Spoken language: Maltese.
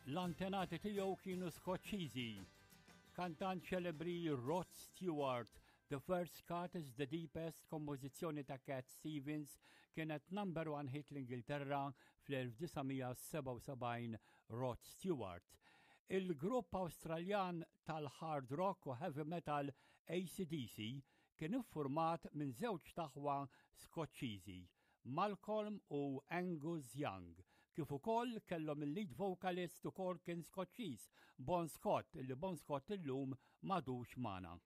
L-antenati tiegħu kienu Skoċċiżi. Kantant ċelebri Rod Stewart, The First Cut is the Deepest, kompożizzjoni ta' Cat Stevens, kienet number one hit l-Ingilterra fl-1977 Rod Stewart. Il-grupp Awstraljan tal-hard rock u heavy metal ACDC kien iffurmat minn żewġ taħwa Skoċċiżi, Malcolm u Angus Young, kif ukoll kellhom il-lead vocalist ukoll kien Skoċċiż, Bon Scott, li Bon Scott illum m'għadux magħna.